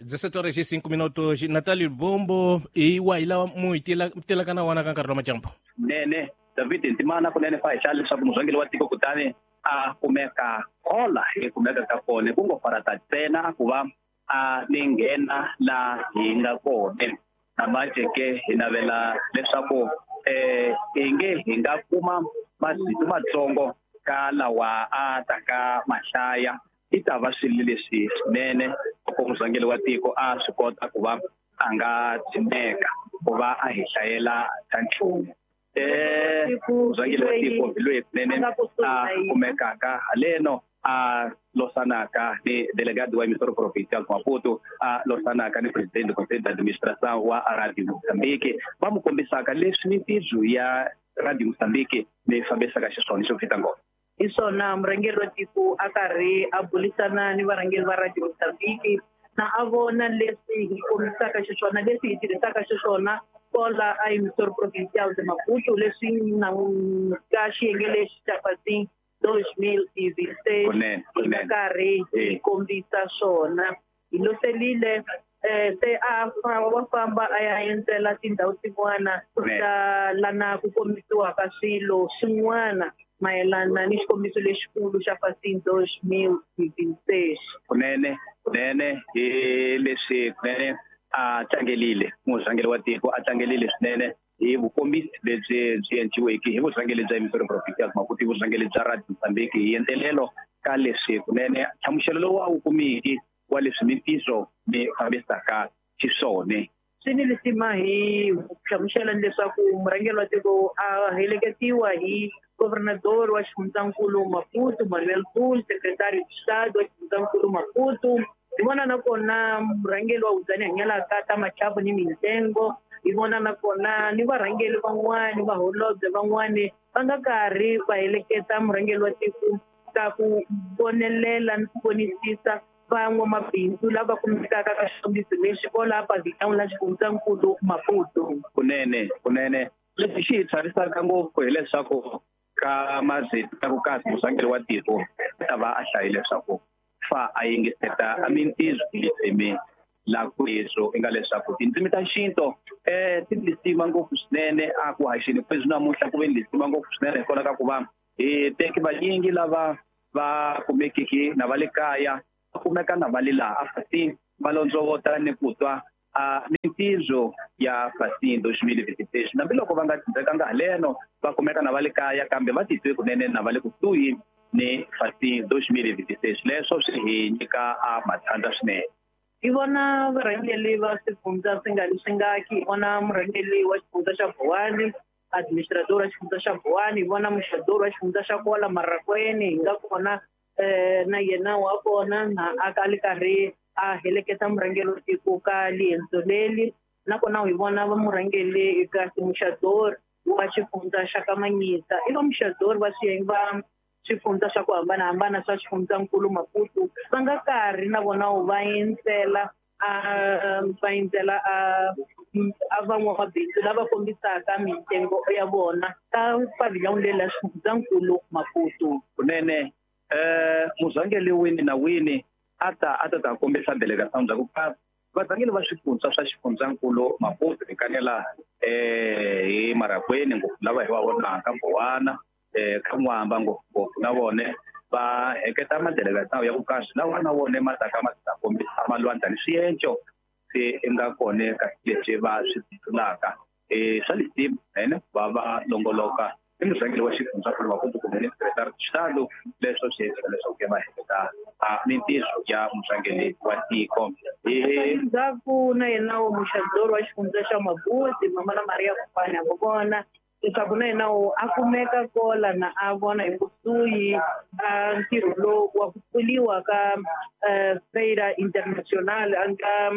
17 horas e 5 minutos. Natalio Bombo i wahi lawa mu hi telaka na wona ka nkarhi wa majambu? Nene David Ntimana kunene fa hi hlaya leswaku murhangeri wa tiko kutani a kumeka kola hi kumeka ka kona ku ngo farata ntsena ku va a ni nghena la hi nga kona. Namanje ke hi navela leswaku hi nge hi nga kuma masiku matsongo ka lawa a taka mahlaya i ta va swilo leswi swinene loko murhangeri wa tiko a swi kota ku va a nga dzimeka ku va a hi hlayela ta nchumu. Murhangeri wa tiko hi loyi kunene a kumekaka haleno a losanaka ni delegado wa emissora provincial Maputo, a losanaka ni presidente do conselho de administração wa Radio Moçambique, va mu kombisaka leswi mintirho ya Radio Moçambique leyi fambisaka xiswona xo fita ngopfu. Hi swona murhangeri wa tiko a karhi a burisana ni varhangeri va Radio Moçambique na a vona leswi hi kombisaka xiswona, leswi hi tirhisaka xiswona kola a emissora provincial de Maputo, leswi na ka xiyenge lexi xa Fasim 2026 hi nga karhi hi kombisa swona. Hi loselile se a wa famba a ya endzela tindhawu tin'wana ta lana ku kombisiwaka swilo swin'wana mayelana ni xikombiso lexikulu xa Fasim 2026. Kunene kunene hi leswi kunene a tlangelile murhangeri wa tiko, a tlangelile swinene hi vukombisi lebyi byi endliweke hi vurhangeri bya emissora provincial Maputo, vurhangeri bya Radio Moçambique hi endlelelo ka leswi kunene nhlamuselo lowu a wu kumiki wa leswi mintirho mi fambisaka xiswona. Swi ni lisima hi hlamusela leswaku murhangeri wa tiko a heleketiwa hi governador wa xifundzankulu Maputo Manuel Pul, secretary de Estado wa xifundzankulu Maputo. Hi vona nakona murhangeri wa Hudzani Hanyalaka ta Machapo ni Mintsengo. Hi vona nakona ni varhangeri van'wani, vaholobye van'wani va nga karhi va heleketa murhangeri wa tiko ka ku vonelela ni ku vonisisa van'wamabindzu lava kumekaka ka xikombiso lexi kola pavilhão la xifundzankulu Maputo. Kunene kunene leswi xi hi chavisaka ngopfu hileswaku ka mazito ya ku kasi murhangeri wa tiko ta va a hlayile leswaku fa a yingiseta a mintirho litsemi la kweswo i nga leswaku tindzimi ta xintu ti lisima ngopfu swinene a ku haxeni kweswi namuntlha ku ve ni lisima ngopfu swinene hikwalaho ka ku va hi teki vanyingi lava va kumekiki na va le kaya va kumeka na va le laha a Fasim va londzovota ni ku twa a mintirho ya Fasim 2026 hambiloko va nga tshembekanga haleno va kumeka na va le kaya kambe va titwe kunene na va le kusuhi ni Fasim 2026. Leswo swi hi nyika a matshandza swinene. Hi vona varhangeri va swifundza swi nga leswi hi vona murhangeri wa xifundza xa Buwani, administrador wa xifundza xa Buwani, hi vona muxador wa xifundza xa Kola Marakweni, hi nga kona na yena wa kona na a ka li karhi a heleketa murhangeri wa tiko ka liendzo leli. Nakona hi vona va murhangeri eka muxador wa xifundza xa Kamanyisa, i va muxador va swiyenge va swifundza swa ku hambanahambana swa xifundzankulu Maputo va nga karhi na vona va endzela a van'wamabindzu lava kombisaka mintsengo ya vona ka pavilhão leri la xifundzankulu Maputo. Kunene murhangeri wini na wini a ta ta kombisa delegação bya ku varhangeri va swifundza swa xifundzankulu Maputo hi kanela hi Marakweni ngopfu lava hi va vonaka Bowana ka N'wamba ngopfungopfu na vone va heketa madelegação ya ku kasi lawa na wona ma taka ma ta kombisa malwandla ni swienco swi nga kona ka leswi va swi titulaka swa lisima ene va va longoloka i murhangeri wa xifundzankulu Maputo kumbe ni secretary de Estado leswo swi endla leswaku va heketa mintirho ya murhangeri wa tiko. Endzhaku na yena muxador wa xifundza xa Mabuti Mama na Maria Kopane a vona leswaku na yena a kumeka kola na a vona hi kusuhi a ntirho lowu wa ku pfuriwa ka Feira Internacional ka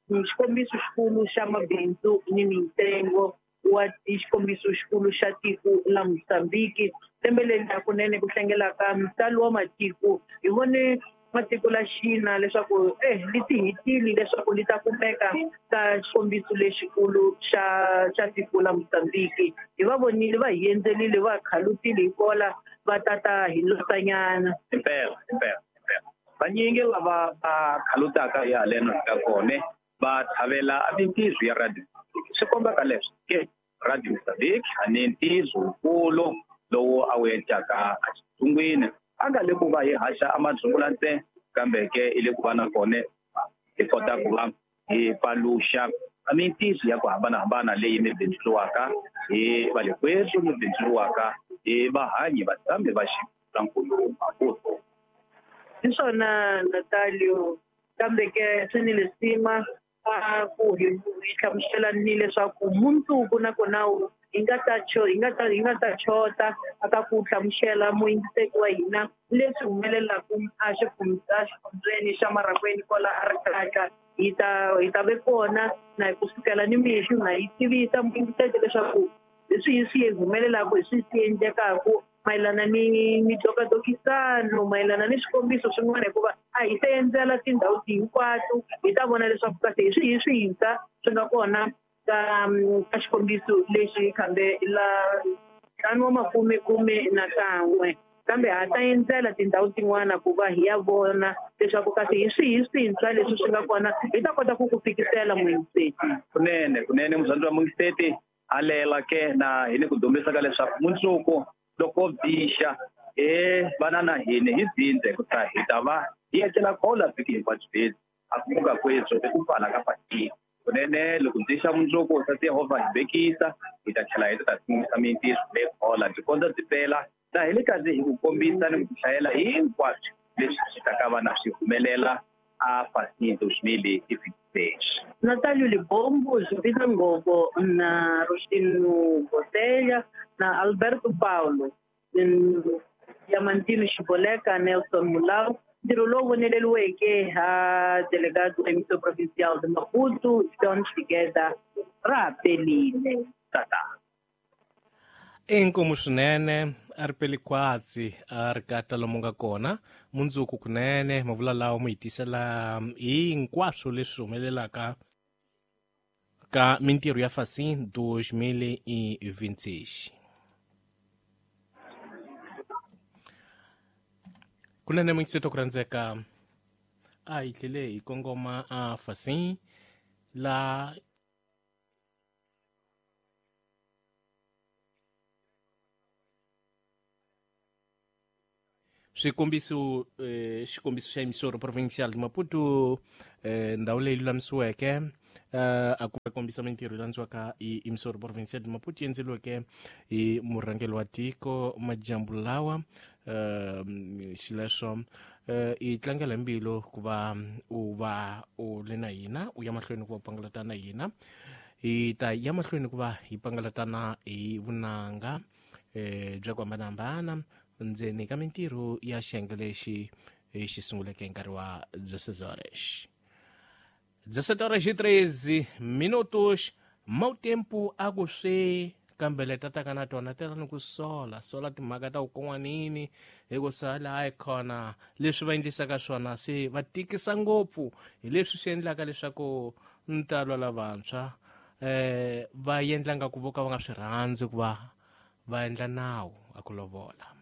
xikombiso xikulu xa mabindzu ni mintsengo wa xikombiso xikulu xa tiko la Mozambique. Lembe leri hakunene ku hlengelaka ntalo wa matiko hi vone matiko la China leswaku li ti hitile leswaku li ta kumeka ka xikombiso lexikulu xa tiko la Mozambique. Hi va vonile va hi endzelile va khalutile hi kola va tata hi losanyana. Impela impela impela. Vanyingi lava va khalutaka hi haleno ka kona va tlhavela mintirho ya Radio Mozambique. Swi kombaka leswi ke Radio Mozambique a ni ntirho wukulu lowu a wu endlaka exitsungwini a nga le ku va hi haxa amadzungula ntsena kambe ke i le ku va na kona hi kota ku va hi paluxa mintirho ya ku hambanahambana leyi mi bindzuriwaka hi va le kwetu mi bindzuriwaka hi vahanyi vatshami va xifundzankulu Maputo. Hi swona Natalio, kambe ke swi ni lisima a ku hi hlamusela ni leswaku mundzuku nakona hi nga ta chota aka ku hlamusela muyingiseki wa hina leswi humelelaka a xifundzeni xa Marangweni kwala a ri kaka. Hi ta ve kona na hi kusukela ni mixo na hi tivisa muyingiseki leswaku hi swihi swi humelelaka, hi swihi swi endlekaka mayelana ni mitokatokisano, mayelana ni swikombiso swin'wana, hikuva a hi se endzela tindhawu hinkwato hi ta vona leswaku kahle hi swihi swintshwa swi nga kona ka xikombiso lexi kambe la ntlhanu wa makume khume na kan'we. Kambe ha ta endzela tindhawu tin'wana ku va hi ya vona leswaku kahle hi swihi swintshwa leswi swi nga kona, hi ta kota ku ku fikisela muyingiseti. Kunene muzandzi wa muyingiseti alela ke na hi ni ku dumbisa ka leswaku mundzuku loko bixa vana na hina hi dzindze ku ta hi ta va hi etlela khola vhiki hinkwabyo bezi a ku muka kwetso i ku pfala ka patini. Kunene loko ndzi xa mundzuku sati Yehovha hi vekisa hi ta tlhela hi ta sungisa mintirho leyi khola byi kondza byi pela na hi le kazi hi ku kombisa ni ku hlayela hinkwaswo leswi swi ta ka va na swi humelela a Facim 2026. Natalio Libombo, Jovita Ngobo na Rostino Botelha na Alberto Paulo, Diamantino Chiboleka, Nelson Mulau, ntirho lowu voneleriweke ha delegado emissão provincial de Maputo, John Figueira, ra pelile. Tata. Inkomu swinene a ri peli kwatsi a ri kata lomu nga kona mundzuku kunene mavula lawa mu hi tisela hinkwaswo leswi humelelaka ka mintirho ya Facim 2026. Kunene muyingiseti ku rhandzeka a hi tlhele hi kongoma a Facim la swikombiso xikombiso xa emissora provincial de Maputo ndhawu leyi lulamisiweke a ku kombisa mintirho yi landziwaka hi emissora provincial de Maputo yi endleriweke hi murhangeri wa tiko majambu lawa xileswo i tlangela mbilu ku va u va u le na hina u ya mahlweni ku va pangalatana na hina hi ta ya mahlweni ku va hi pangalatana hi vunanga bya ku hambanahambana ndzeni ka mintirho ya xiyenge lexi xi sunguleke nkarhi wa 16 horas 17:13 minutos. Mau tempo a ku swi kambe leta taka na tona tela ni ku sola sola timhaka ta ku kon'wanini hi ku sala hayi khona leswi va endlisaka swona se va tikisa ngopfu hi leswi swi endlaka leswaku ntalo lavantshwa va endla nga ku vo ka va nga swi rhandzi ku va va endla nawu a ku lovola.